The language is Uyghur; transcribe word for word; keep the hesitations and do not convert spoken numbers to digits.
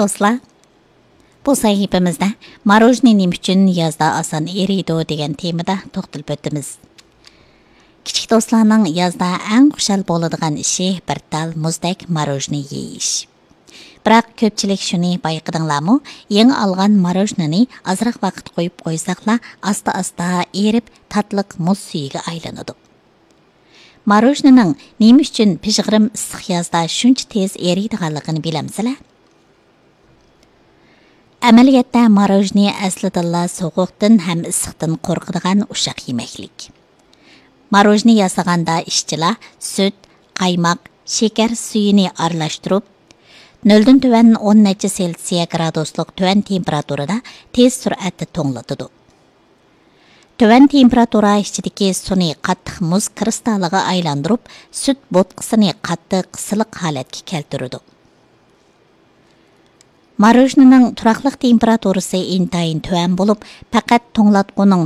دوستلار، بۇ سەھىپىمىزدە ماروژنى نېمە ئۈچۈن يازدا ئاسان ئېرىيدۇ دېگەن تېمىدا توختىلىپ ئۆتىمىز. كىچىك دوستلارنىڭ يازدا ئەڭ خۇشال بولىدىغان ئىشى بىر تال مۇزدەك ماروژنى يېيىش. بىراق كۆپچىلىك شۇنى بايقىدىڭلارمۇ، يېڭى ئالغان ماروژنىنى ئازراق ۋاقىت قويۇپ قويساقلا، ئاستا-ئاستا ئېرىپ، تاتلىق مۇز سۈيىگە ئايلىنىدۇ. ماروژنىنىڭ نېمە ئۈچۈن پىژغىرىم ئىسسىق يازدا شۇنچە تېز ئېرىيدىغانلىقىنى بىلەمسىلەر؟ ئەمەلىيەتتە ماروژنى ئەسلىدىنلا سوغۇقتىن ھەم ئىسسىقتىن قورقىدىغان ئۇششاق يېمەكلىك. ماروژنى ياسىغاندا ئىشچىلار سۈت، قايماق، شېكەر سۈيىنى ئارىلاشتۇرۇپ، نۆلدىن تۆۋەن ئون نەچچە سېلسىيە گرادۇسلۇق تۆۋەن تېمپېراتۇرىدا تېز سۈرئەتتە توڭلىتىدۇ. تۆۋەن تېمپېراتۇرا ئىچىدىكى سۇنى قاتتىق مۇز كىرىستالىغا ئايلاندۇرۇپ، سۈت بوتقىسىنى قاتتىق سىلىق ھالەتكە كەلتۈرىدۇ. ماروژنىنىڭ تۇراقلىق تېمپېراتۇرىسى ئىنتايىن تۆۋەن بولۇپ، پەقەت توڭلاتقۇنىڭ